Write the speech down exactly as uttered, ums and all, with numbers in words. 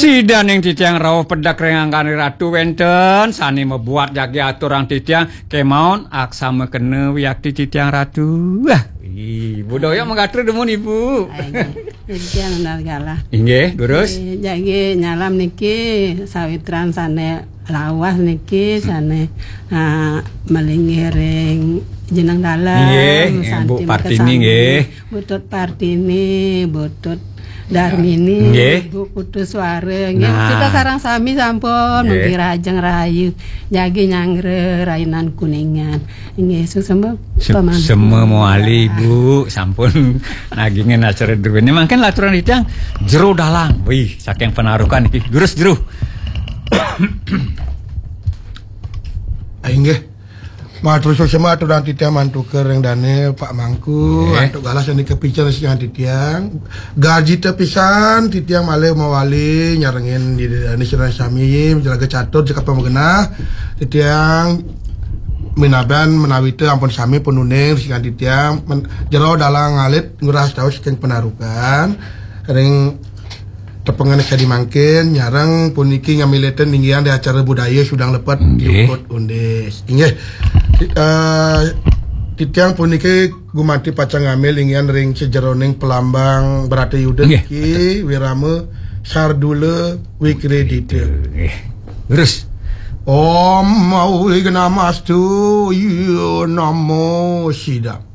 Sidaning titiang rauh pedek ring angganing ratu wenten sane mabuat jagi aturang titiang kemaon aksama kena wiakti titiang ratu. Wah, ih, budaya magatra dumun ibu. Inggih, titiang Nandala. Inggih, durus. Eh, jagi nyalam niki sawitran sane lawas niki sane ah, malinggih ring jeneng dalem. Inggih, Bu Partini, nggih. Butut Partini, Butut Darmini, nggih. Bu Putu Suara, nggih. Nah. Kita sareng sami sampun nggih. Mugi rahajeng rahayu, jagi nyanggra rainan Kuningan. Inggih, suksma pamangku. Semua mawali, Bu, sampun nagingin acara druene. Mangkin laturang titiang Jero Dalang. Wih, saking Panarukan iki. Durus, Jero. Inggih. Matur suksma aturang titiang mantuka ring dane Pak Mangku, nggih. Antuk galah sane kapican siang titiang. Garjita pisan titiang malih mawali nyarengin di dane sira sami, jelaga catur, jaka pamagenah. Titiang minaban menawita ampun sami pun uning siang titiang. Men-, Jero Dalang Alit Ngurah Taus saking Panarukan. Ring tepengan kadi mangkin, nyareng puniki ngamiletin linggihan di acara budaya Sudang Lepet, nggih. Jukut Undis. Inggih. Eh, titiang puniki gumanti pacang ngambil linggihan ring sejeroning pelambang Bratayuda, nggih, niki, Wirama Sardula Wikredita. Nggih. Terus. Om Awighnamastu, ya namo sidam.